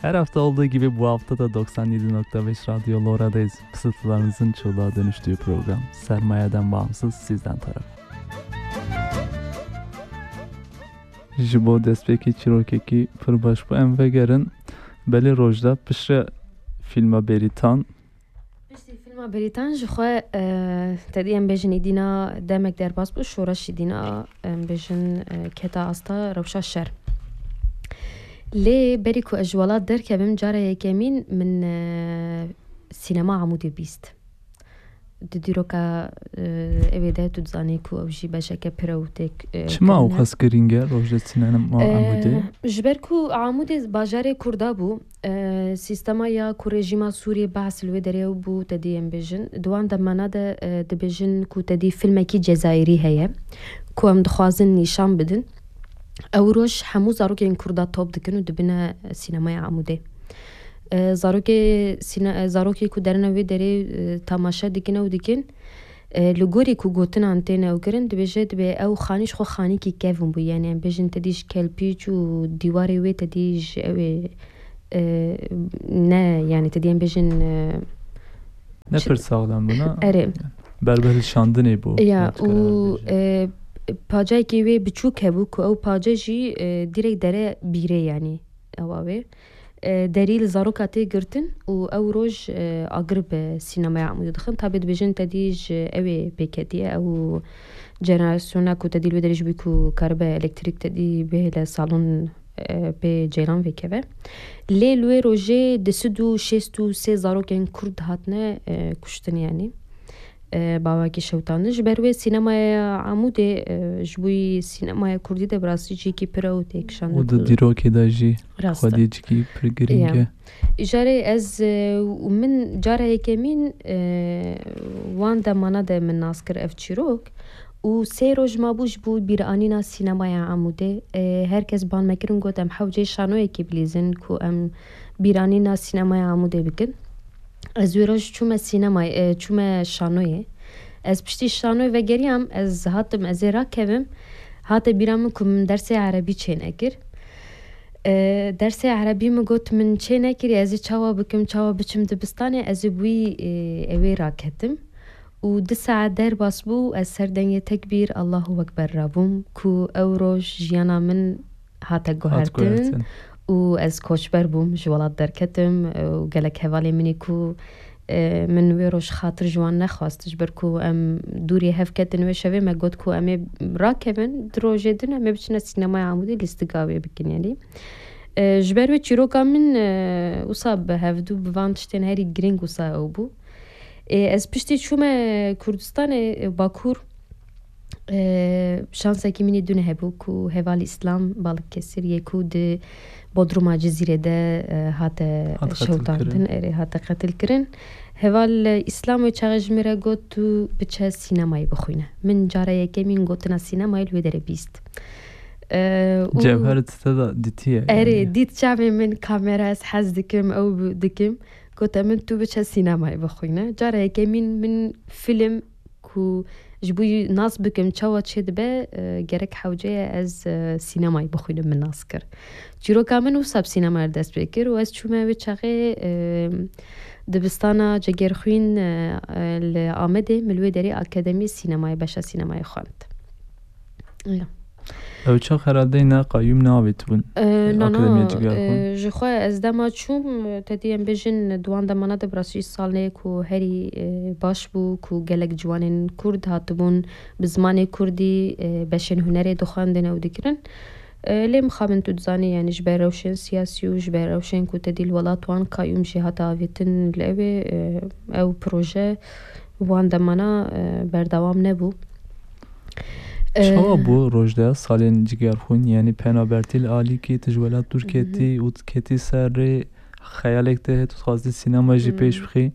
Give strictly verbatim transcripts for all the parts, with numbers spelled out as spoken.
Her hafta olduğu gibi bu hafta da doksan yedi nokta beş Radyo Lora'dayız. Fısıltılarınızın çığlığa dönüştüğü program. Sermayeden bağımsız, sizden taraf. Ji bo destpêkê çîrokekî pir baş bû. Em vegerin belê Rojda piştre fîlma Bêrîtan. Piştî fîlma Bêrîtan ji xwe, e, tedî em bêjin îdîna demek derbas bû, şoreşî dîna em bêjin, e, keta asta rewşa şer. Lê berî ku ez ji welat derkevim, cara yekemîn min, e, sînema Amûdê bîst. Di dîroka, e, ewê de tu dizanî ku ew jî beşeke pir ew têk, e, Çima ew kirine. Qas girîng e rojda sînema Amûdê? E, ji ber ku Amûdê bajarê Kurda bû, e, sîstema ya ku rejîma Sûriyê behs li wê derê ew bû, te dî em bêjin. Di wan demana de, e, dibêjin ku te dî filmekî Cezayirî heye ku em dixwazin nîşan bidin. Ew roj hemû zarokên Kurda top dikin û dibine sînemaya Amûdê. E, zarokê sîne-, e, zarokê ku derine wê derê, e, tamaşe dikin ew dikin. E, li gorî ku gotinan tên ew kirin, dibêje dibê ew xanî ji xwe xanîkî kevin bû. Yani em bêjin te dî ji kelpîç û dîwarê wê te dî ji ew ê, e, ne, yani te dî em bêjin, e, Ne çi- pir saxlem bûna. Erê. Berbe hilşandinê bû. Ya, û, e, pacayekê wê biçûk hebû ku ew pace jî, e, direk dere bîrê, yani ewa wê. E, derî li zaroka tê girtin û ew roj, e, agir bi sînemaya Amûdê dixin. Tabê dibêjin te dî ji ew ê pêketiye, ew jenerasyona ku te dî li wê derê ji bî ku karibe elektrîk te dî bihêle salon, e, pê ceyran vêkeve. Lê li wê rojê du sed û şêst û sê zarokên Kurd hatine, e, kuştin, yani, e, bawakî şewtandin. Ji ber wê sînemaya Amûdê, e, ji bo yî sînemaya Kurdî de bi rastî cihekî pir ew têkişandin. Û di dîrokê de jî Rast e. Xwediyê cihekî pir girîng e. Îjarê ez, e, û min cara yekemîn, e, wan demana de min nas kir ev çîrok. Û sê roj mabû ji bo bîranîna sînemaya Amûdê. E, her kes ban me kirin got em hewcê şanoyekê bilîzin ku em bîranîna sînemaya Amûdê bikin. Ez wê roj çûme sînemayê, e, çûme şanoyê. Ez piştî şanoyê vegeriyam, ez hatim, ez ê rakevim. Hate bîra min ku min dersê erebî çê nekir. E, dersê erebî min got min çê nekirî, ez ê çawa bikim, çawa biçim dibistanê, ez ê bi wî, e, ewê raketim. Û du saet derbas bû, ez ser dengê tekbîr, Allahu Ekber rabûm, ku ew roj jiyana min hate Hat guhertin guhertin. Û ez koçber bûm, ji welat derketim, e, û gelek hevalê min ê ku, e, min wê roj xatir ji wan nexwest, ji ber ku em dûrî hev ketin wê şevê, me got ku em ê rakevin, di rojê din em ê biçine sînemaya Amûdê lîstika wê bikin, yanî. E, ji ber wê çîroka min, e, wisa bi hevdû bi van tiştên herî girîng wisa ew bû. Ê, ez piştî çûme Kurdistanê, e, Bakur, e, şansekî min ê dune hebû ku heval Îslam Balıkesir yê ku di Bodruma Cizîrê de, e, hate Hat qetil şewtandin, kirin. Erê, hate qetil kirin. Heval, e, Îslam wê çaxê ji min re got, "Tu biçe sînemayê bixwîne." Min cara yekemîn gotina sînemayê li wê derê bîst. E, û Cevher tite de dîtiye, Erê, yani. Dît çavê min kamera, ez hez dikim, ew bi-, dikim. Gote min, "Tu biçe sînemayê bixwîne." Cara yekemîn min fîlm ku ji bo nas bikim çawa çêdibe, e, gerek hewce ye ez, e, sînemayê bixwînim, min nas kir. Çîroka min wisa bi sînemayê re dest pê kir û ez çûme wê çaxê, e, dibistana Cegerxwîn, e, e, li Amedê, min li wê derê Akademî Sînemayê, beşa sînemayê xwend. Ya. Ew çax herhalde ne qayûm neavêtibûn, Ee, e, na, na, Akademiya Cigirxwîn. E, ji xwe ez dema çûm, e, te dî em bêjin, di wan demana de bi rastî salneyek ku herî, e, baş bû, ku gelek ciwanên Kurd hatibûn, bi zimanê Kurdî, e, beşên hunerê dixwendin ew dikirin. E, lê mixabin tu dizanî, yani ji ber rewşên siyasî û ji ber rewşên ku te dî li welat wan qayûm jî hate avêtin li ew ê, e, ew proje wan demana, e, berdewam nebû. Çawa Ee, bû rojdeya salên Cigerxwîn? Yanî penabertî li alîkî, tu ji welat dûr Hı hı. ketî û tu ketî ser rê, xeyalek te heye, tu dixwazî sînema jî pêş Hmm. bixî.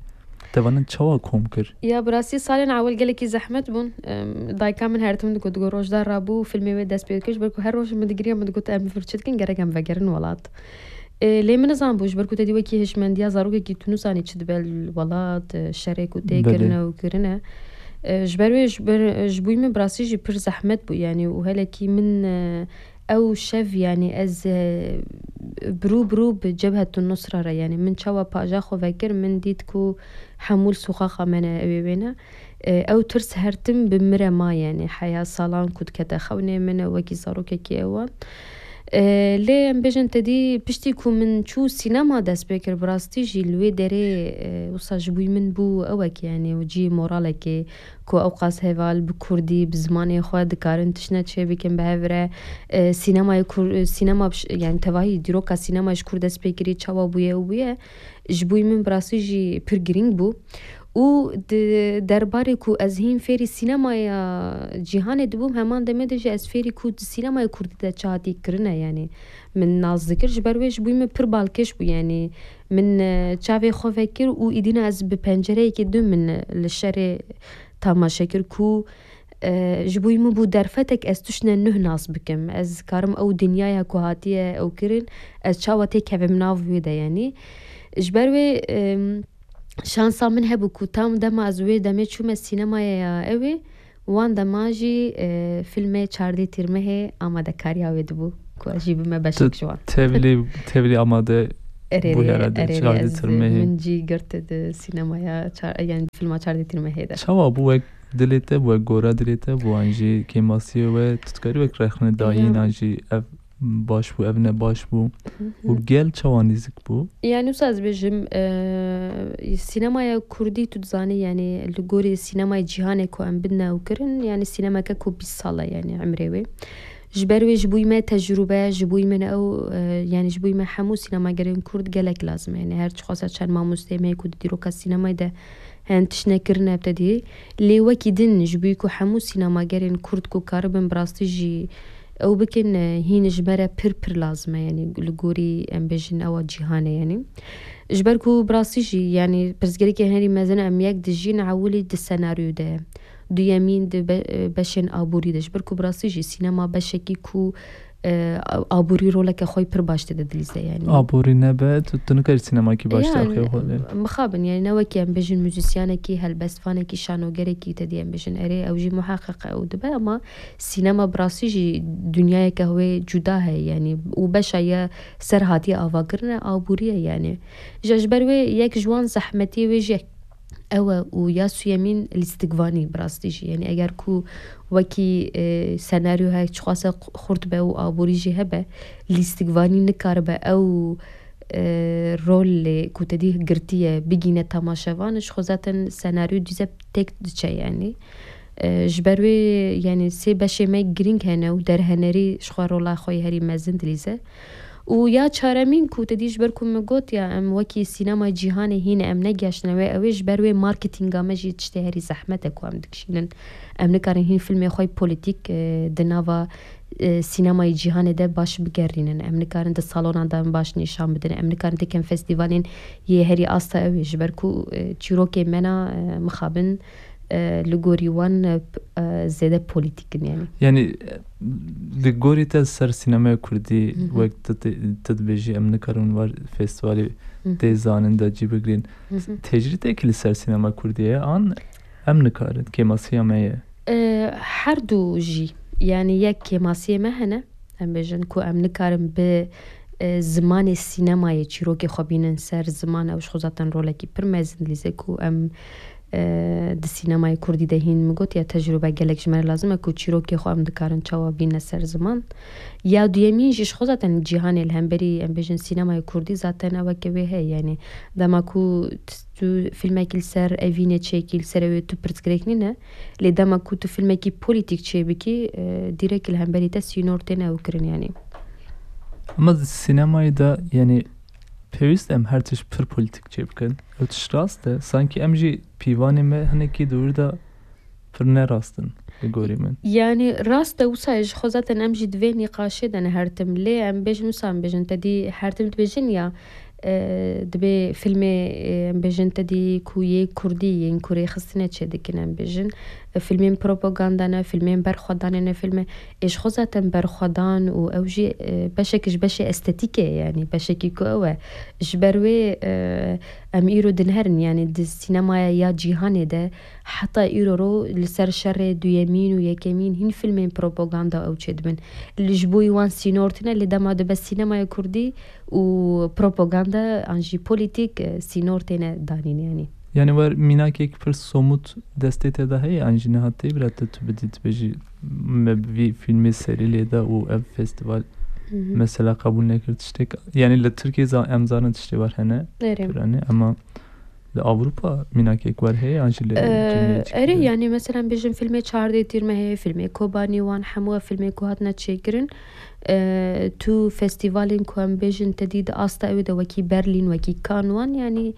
Te vanin çawa kom kir? Ya, bi rastî salên ewil gelekî zehmet bûn. Em, dayika min her tim digot, digot, "Rojda rabû, filmê wê dest pê dikir." Ji ber ku her roj min digiriya, min digot, "Em vir çi dikin, gerek em vegerin welat." E, lê min nizanbû, ji ber ku te dî wekî hişmendiya zarokekî tu nizanî çi dibe li welat, e, şerê ku tê Belê. kirine û kirine. E, ji ber wê, ji ber, ji bo min bi rastî jî pir zehmet bû, yanî, û helekî min, e, ew şev, yanî, ez, e, bi rû bi rû bi Cebhetun Nusra re, yanî, min çawa paja xwe vekir, min dît ku hemû li soqaqa me ne, ew ê wê ne. E, ew tirs her tim bi min re ma, yanî, heya salan ku dikete xewnê min, wekî zarokekî ewan. E, lê em bêjin te dî piştî ku min çû sînema dest pê kir, bi rastî jî li wê derê, e, wisa ji bo min bû ewek, yanî, û cî moralekê ku ew qas heval bi kurdî, bi zimanê xwe dikarin tiştine çêbikin bi hev re. E, sînemayê kur-, sînema bi ş-, yanî tevahî dîroka sînema ji kur dest pê kirî, çawa bûye û bûye, ji bo min bi rastî jî pir girîng bû. Û di derbarê ku ez hîn fêrî sînemaya cîhanê dibûm, heman demê de jî ez fêrî ku di sînemaya kurdî de çi hatî kirine, yanî min nas dikir. Ji ber wê ji bo min pir balkêş bû, yanî min, e, çavê xwe vekir û îdîna ez bi pencereyekê dû min li şerê tamaşe kir ku, e, ji bo min bû derfetek ez tiştine nuh nas bikim. Ez karim ew dinyaya ku hatiye ew kirin, ez çawa têkevim nav wê de, yanî. Ji ber wê, em, şansa min hebû ku tam dema ez wê demê çûme sînemaya ya ew ê, wan dema jî, e, fîlmê Çardê Tîrmehê amadekariya wê dibû, ku ez jî bime beşek ji wan. Tevlî, tevlî amade Erê bû rê, herhalde erê rê, Çardê ez, Tîrmehê. Min jî girt di sînemaya çar-, yanî fîlma Çardê Tîrmehê de. Çawa bû wek dilê te bû, wek gora dilê te bû, an jî kêmasiyê we, tu dikarî wek rexne dayîna jî ev baş bû, ev ne baş bû. Hı hı. Û gel çawa nêzik bû? Yanî wisa ez bêjim, e, sînemaya kurdî tu dizanî, yanî li gorî sînemaya cîhanê ku em bidine ew kirin, yanî sînemeke ku bîst sal e, yanî emrê wê. Ji ber wê ji bo me tecrûbe, ji bo me ew, e, yanî ji bo me hemû sînemagerên kurd gelek lazim e. Yanî her çiqasa çend mamosteyê me ku di dîroka sînemayê de hen tiştine kirine, te dî. Lê wekî din ji bo ku hemû sînemagerên kurd ku karibin bi rastî jî ew bikin, e, hîn ji me re pir pir lazim e, yanî li gorî em bêjin ewa cîhanê, yanî. Ji ber ku bi rastî jî, yanî pirsgirêkên herî mezin em yek dijîn ewilî di senaryo de, duyemîn di be-, beşên aborî de. Ji ber ku bi rastî jî sînema beşekî ku, e, aborî roleke xwe pir baş tê de dilîze, yanî. Aborî nebe, tu, tu nikarî sînemakî baş Ya, tê axê xwe lê. Mixabin, yanî ne wekî em bêjin muzîsyanekî, helbestvanekî, şanogerekî, te dî em bêjin erê, ew jî muheqeq e û dibe, ama sînema bi rastî jî dinyayeke wê cuda heye, yanî, û beşa ye ser hatiye avakirine aborî ye, yanî. Ji, ji ber wê yek ji wan zehmetiyê wê jî ew e û ya suyemîn lîstikvanî bi rastî jî. Yanî eger ku wekî, e, senaryo her çiqase xurt be û aborî jî hebe, lîstikvanî nikaribe ew, e, rolê ku te dî girtiye bigîne temaşevan, ji xwe zaten senaryo dîze têk diçe, yanî. E, ji ber wê, yanî sê beşê me girîng hene û derhenerî ji xwe rola xwe yê herî mezin dilîze. Û ya çaremîn ku te dî ji ber ku min got ya, em wekî sînemaya cîhanê hîn em negeştine wê, ew ê ji ber wê marketinga me jî tiştê herî zehmet e ku em dikişînin. Em nikarin hîn fîlmê xwe yê polîtîk, e, di nava, e, sînemayê cîhanê de baş bigerînin. Em nikarin di salonan de em baş nîşan bidin. Em nikarin têkin festîvalên yê herî asta ew ê, ji ber ku, e, çîrokê me na, e, mixabin, e, li gorî wan, e, p-, e, zêde polîtîk in, yanî. Yanî, e, li gorî te ser sînemaya kurdî, Hı hı. wek tu te-, tu dibêjî, em nikarin war festîvalê Hı hı. tê zanin de cî bigirîn. Hı hı. Tecrîdekî li ser sînemaya kurdî ye, an em nikarin, kêmasiya me ye? E, her du jî. Yanî yek kêmasiyê me hene. Em bêjin ku em nikarin bi, e, zimanê sînemayê çîrokê xwe bînin ser ziman, ew ji xwe zaten rolekî pir mezin dilîze ku em, e, di sînemayê kurdî de hîn min got ya tecrûbe gelek ji me re lazim e ku çîrokê xwe em dikarin çawa bîne ser ziman. Ya duyemîn jî ji xwe zaten cîhanê li hemberî em bêjin sînemayê kurdî zaten eweke wê heye, yanî dema ku t-, tu filmekî li ser evînê çêkî, li ser ew ê tu pirsgirêk nîne, lê dema ku tu filmekî polîtîk çêbikî, e, dîrek li hemberî te sînor têne ew kirin, yanî. Ama di sînemayê de, yanî, pêwîst em her tişt pir polîtîk çêbikin. Ew tişt rast e. Sankî em jî pîvanê me hinekî di wir de pir ne rast in, li gorî min. Yanî, rast e, wisa ji xwe zaten em jî di vê nîqaşê de ne her tim. Lê em bêjin wisa, em bêjin, te dî her tim dibêjin ya, e, dibê filmê, e, em bêjin te dî ku yê kurdî yên ku rêxistine çêdikin, em bêjin. E, filmên propaganda ne, filmên berxwedanê ne, filmê, ê ji xwe zaten berxwedan û ew jî, e, beşek ji beşê estetîkê ye, yanî beşekî ku ew e. Ji ber wê, e, em îro dinherin, yanî di sînemaya ya cîhanê de heta îro ro li ser şerê duyemîn û yekemîn hîn filmên propaganda ew çêdibin. Li ji bo wan sînor tune, lê dema dibe sînemaya kurdî û propaganda an jî polîtîk, e, sînor têne danîn, yanî. Yani wer mînakek pir somut destê te de heye, an jî niha tê bira te tu bidî, tu bêjî, me bi vî filmê serî lê da û ev festival Hı hı. mesela qebûl nekir tiştek. Yani li Tirkiyê za-, em zanin tiştê wer hene, Erê. pir hene, ama li Ewropa mînakek wer heye, an jî li Ee, Tirkiyê çi Erê, heye? Yani mesela bêjin filmê Çardê Tîr me heye, filmê Kobanî wan hemû ev filmê ku hatine çêkirin. Ee, tu festivalên ku em bêjin te dî di asta ew de wekî Berlîn, wekî Cannes wan, yani,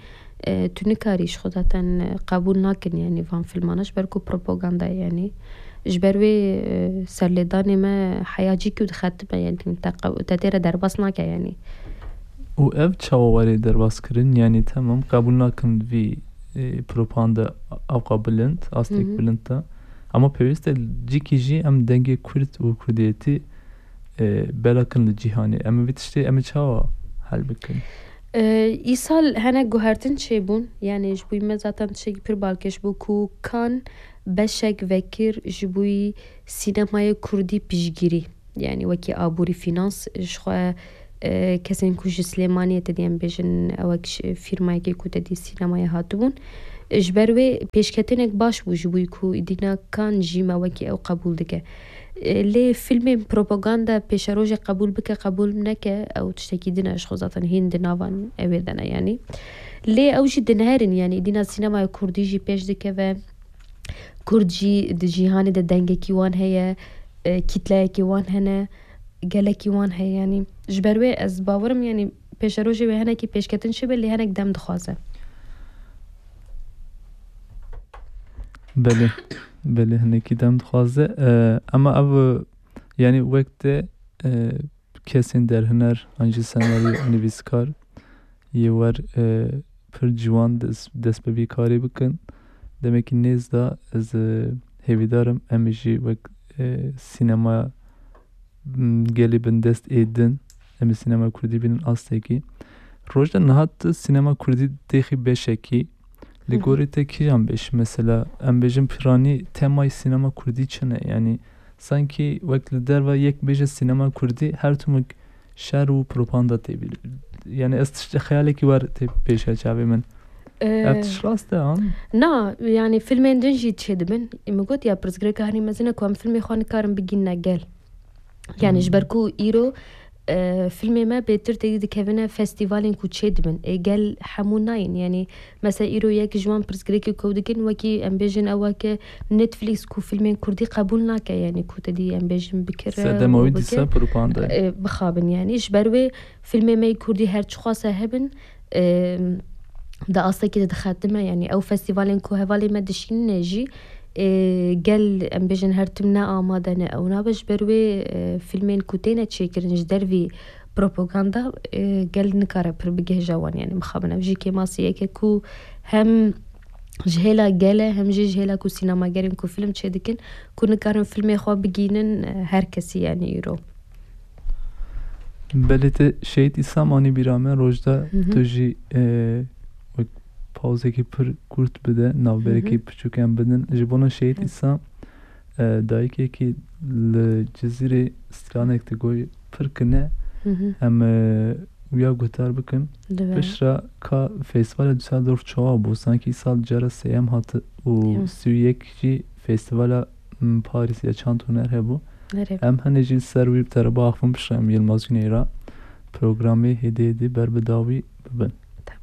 e, tu nikarî ji xwe zaten, e, qebûl nakin, yani van filmana ji ber ku propaganda ye, yani. Ji ber wê, e, serlêdanê me heyacî ku dixetime, yani te qe-, te tê re derbas nake, yani. Û ev çawa were derbas kirin? Yani temam, qebûl nakim vî, e, propaganda ewqa bilind, astek Hı hı. bilind de. Ama pêwîst e cîkî jî em dengê Kurd û Kurdiyetî, e, belakin li cîhanê. Em ê vî tiştê em ê çawa hel bikin? E, îsal hene guhertin çêbûn. Yani ji bo me zaten tiştekî pir balkêş bû ku Cannes beşek vekir ji bo sînemayê kurdî piştgirî. Yani wekî aborî, finans, ji xwe, e, kesên ku ji Silêmaniyê te dî em bêjin, ew wek ji fîrmayekê ku te dî sînemayê hatibûn. Ji ber wê pêşketinek baş bû ji bo ku îdîna Cannes jî me wekî ew qebûl dike. E, lê filmên propaganda pêşerojê qebûl bike, qebûl neke, ew tiştekî din e, ji xwe zaten hîn di navan ewê de ne, yani. Lê ew jî dinherin, yani îdîna sînemaya kurdî jî pêş dikeve. Kurd jî di cîhanê de dengekî wan heye, e, kîtleyekî wan hene, gelekî wan heye, yanî ji ber wê ez bawerim, yanî pêşerojê wê hinekî pêşketin çêbe, lê hinek dem dixwaze. Belê, belê, hinekî dem dixwaze. E, ema ev, yanî wek te, e, kesên derhiner an jî senaryo nivîskar yê wer, e, pir ciwan des-, dest bi vî karê bikin. Demekî nêz de ez, e, hêvîdar im em ê jî wek, e, sînemaya, m, gelê bindest ê din, em ê sînemaya kurdî bînin astekî. Roj de niha tu sînema kurdî têxî beşekî. Li Hı hı. gorî te kîjan beş? Mesela em bêjin piranî temayê sînema kurdî çi ne? Yanî sankî wek li derve yek bêje sînema kurdî her timik şer û propaganda tê bîr. Yanî ez tişt-, xeyalekî wer tê pêşiya çavê min. Ee, Ev tişt rast e, an? Na, yani filmên din jî çêdibin. Min got ya pirsgirêka herî mezin e ku em filmê xwe nikarin bigînine gel. Yani ji ber ku îro, e, filmê me bêtir têdî dikevine festîvalên ku çêdibin. Ê gel hemû nayên. Yani mesela îro yek ji wan pirsgirêkê ku ew dikin, wekî em bêjin ew weke Netflix ku filmên kurdî qebûl nake, yani ku te dî em bêjin bikire Sedema û wî bike, dîsa propaganda ye. E, bixabin yani. Ji ber wê filmê me yê kurdî her çiqas e hebin, e, di astekî de dixetime, yani ew festîvalên ku hevalê me dişînine jî, e, gel em bêjin her tim ne amade ne ew nabe, ji ber wê, e, filmên ku têne çêkirin ji dervî propaganda, e, gel nikare pir bigihêje wan, yani mixabin ev jî kêmasiyeke ku hem ji hêla gel e, hem jî ji hêla ku sînemagerên ku film çêdikin, ku nikarin filmê xwe bigînin, e, her kesî, yani îro. Belê te Şehîd Îsam anî bîra me, Rojda Hı hı. tu jî, e, wek pawzekî pir kurt bide, navberekî Hı hı. piçûk em bidin. Ji bona Şehîd Hı. Îsam, e, dayikekî li Cizîrê stranek digoy pir kine. Hı hı. Em, e, wiya guhdar bikin. Dibe. Piştre ka festîvala Düsseldorf çawa bû? Sankî îsal cara sêyem hat û Hı. sî û yek jî festîvala, m, Paris ya çand huner hebû. Nerê? Em hene jî li ser wî bi te re biaxivin, piştre em Yilmaz Güney re programê hêdî hêdî ber bi dawî bibin. Tamam.